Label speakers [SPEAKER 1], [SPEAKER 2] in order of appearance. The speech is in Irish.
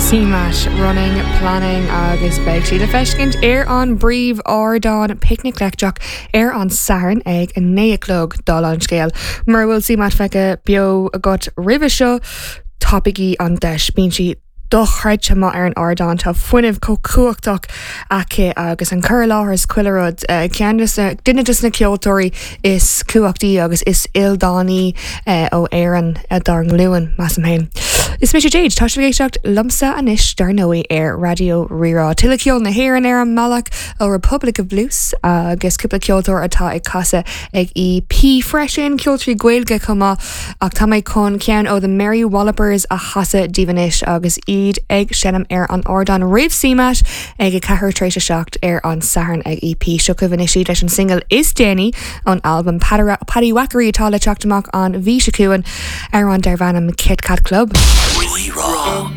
[SPEAKER 1] CMAT, Running, Planning agus beidh sí le feiscint ar an bpríomh-ardán Picnic Leictreach ar an Satharn ag 9 a chlog, dála an scéil. Mura bhfuil CMAT feicthe beo agat roimhe seo, tapaígí an deis, bíonn sí dochreidte maith ar an ardán, tá fuinneamh chomh cumhachtach aici agus an cur i láthair is chuile rud. Ceann de na, duine de na ceoltóirí is cumhachtaí agus is ildánaí ó Éirinn dár nglúin, measaim féin. Is mise Jade, tá sibh ag éisteacht liomsa anois dar ndóigh ar Raidió Rí-Rá. Tuilleadh ceol na hÉireann ar an mbealach ó Republic of Blues agus cúpla ceoltóir atá ag casadh ag EP freisin, ceoltóirí Gaeilge chomh maith. Ach tá mé chun ceann ó The Mary Wallopers a chasadh daoibh anois agus iad ag seinm ar an ardán roimh CMAT ag 4 tar éis 7 ar an Satharn ag EP. Seo chugaibh anois iad leis an singil is déanaí ón albam Paddywhackery atá le teacht amach an mhí seo chugainn, amhrán darb ainm Kit Kat Club.
[SPEAKER 2] Rí-Rá.